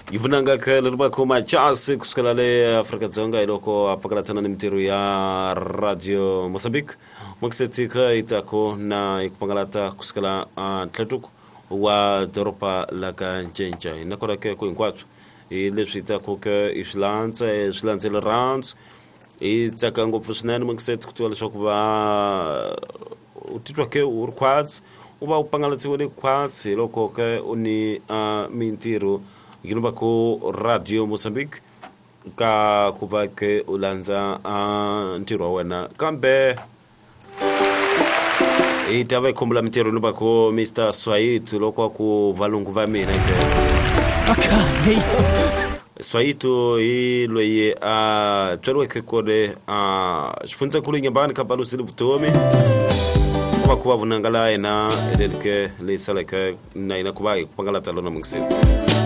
Yi vunanga khele ri va khoma chasi kusukela le Afrika-Dzonga hi loko a pakalatsana ni mintirho ya Radio Mozambique. Mokisetsika yi tako na yi ku pangalata kusukela a ntlhatuko wa doroba la ka Ncenca. Hi nakona ke ku hinkwaswo hi leswi taku ke i swi landza swi landzele rhandzu hi tsaka ngopfu swinene Mokiseti ku tiva leswaku va u titwa ke u ri khwatsi u va u pangalatsiwile khwatsi hi loko ke u ni mintirho yi va ku Radio Mozambique ka ku va ke u landza ntirho wa wena kambe hi ta va hi khumbula mintirho ni va ku Mr Swayito loko a ku valungu va mina ke Swayito hi loyi a tswariweke kole a xifundzankulu Nyambani ka Balusile vutomi ku va ku va vunanga la yena lelike leyi saleke na yena ku va hi ku pangalata lona mungiseti.